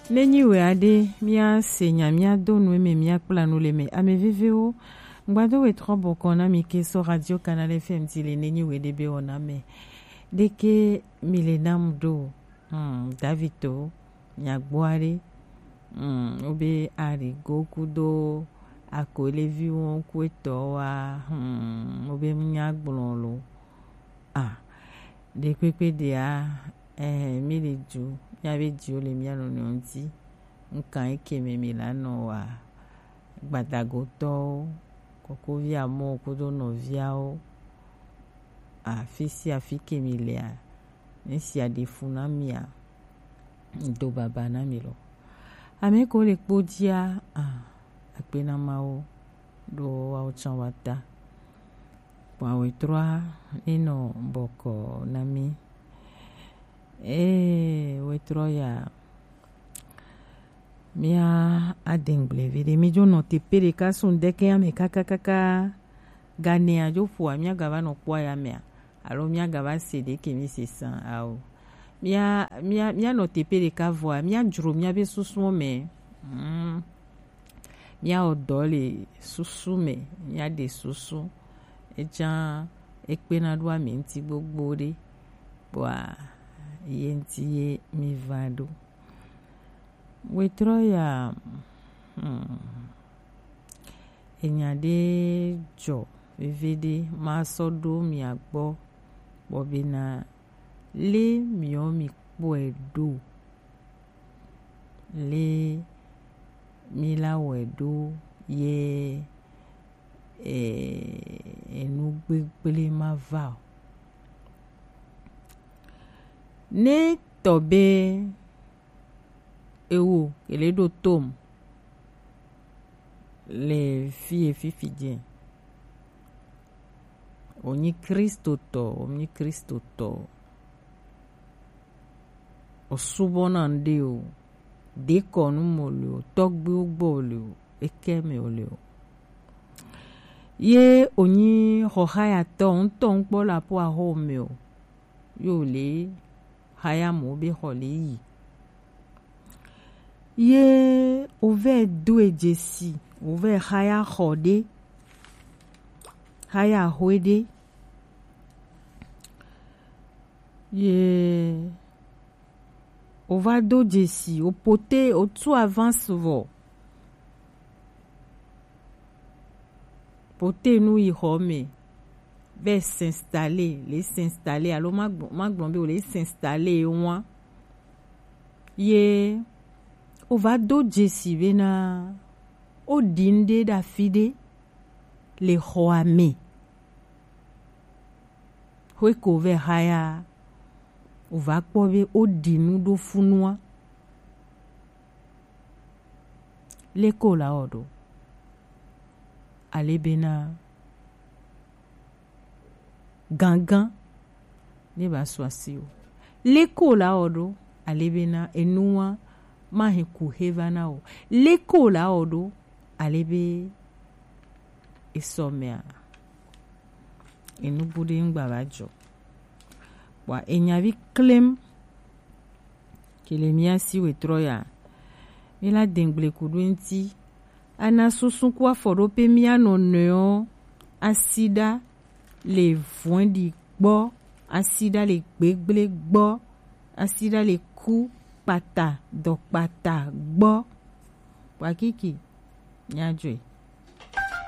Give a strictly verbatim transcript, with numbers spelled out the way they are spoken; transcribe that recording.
Nenyi we aɖe, míase nya, míado nu eme, míakpla nu le eme. Ame vevewo, ŋgbado we trɔ bɔkɔ na mi ke sɔ Radio Canal F M ti le nenyi we ɖe be wɔna me. Ɖeke mi le nam ɖo. Hmm, David to, miagbɔ aɖe. Hmm, wobe Arigo kudo Akoleviwo kuetɔ wa. Hmm, wobe nya gblɔ lo. Ah, ɖekpekpe ɖea, eh, mi le du, míabe diwo le mía nɔnɔewo ŋuti. Ŋkan eke me mi la nɔ wa, gbadagotɔwo, kokovi amɔ kudo nɔviawo, afi sia afi ke mi lea, ne sia ɖe fu na mia, do baba na mi lo. Ame ko le kpo dia, ah, akpe na Mawu ɖo wawo tsã wa ta. Kpɔa wetrɔa enɔ bɔkɔ na mi. Ee, wetrɔ ya, mía adengble vi ɖe. Mi dzo nɔ teƒe ɖeka sun ɖeke ame kakakaka. Ganea dzo ƒoa, mía gava nɔ kpɔa ya mea? Alo mía gava se ɖeke mi se san ao? Mía, mía, mía nɔ teƒe ɖeka vɔa, mía dzro mía be susuwo me. Mm. Míawɔ dɔ le susu me, míaɖe susu. Etsã ekpena ɖo ame ŋuti gbogbo ɖe, kpɔa ye ŋuti ye mi va ɖo. Wetrɔ ya, hmm, enya ɖe dzɔ vevi ɖe, masɔ ɖo mia gbɔ, kpɔ bena le miɔ mi kpɔe ɖo. Le mi la wɔe ɖo ye, eh, enu gbegble ma va o. Ne tɔ be ewo, ele ɖo tom le fie fifi dze. Wònyi Kristotɔ, wònyi Kristotɔ. Osubɔna ŋɖe o, dekɔnu mo le o, tɔgbuiwo gbɔ o le o, eke me o le o. Ye wònyi xɔxayatɔ ŋutɔ ŋkpɔ le aƒo axɔ me o, yo le xaya mo be xɔ le yi. Ye wovɛ do e dzesi, wovɛ xaya xɔ ɖe, xaya xɔe ɖe. Ye wova do dzesi, wopote, wotu avance vɔ. Pote nu yi xɔ me, vɛ s'installer, le s'installer, alo ma gblɔ, ma gblɔ be wo le s'installer wan. Ye wova do dzesi bena woɖi ŋɖe ɖe afi ɖe le xɔa me. Xwe ko vɛ xaya, wova kpɔ be woɖi nu ɖo funua. Leke wòle awɔ ɖo? Ale bena gangan ne ba su asi o. Leke wòle awɔ ɖo? Ale bena enua mahe ku he va na o. Leke wòle awɔ ɖo? Ale be esɔ mea, enu bu ɖe ŋgba va dzɔ. Kpɔa enya vi klem. Ke le mía si wetrɔ ya, mí la dengble ku ɖo eŋuti. Ana susu ku afɔɖoƒe mía nɔnɔewo, asi ɖa le vɔ̃ɖi gbɔ, asi ɖa le gbegble gbɔ, asi ɖa le ku kpata, dɔ kpata gbɔ. Kpakiki, mía dzɔe.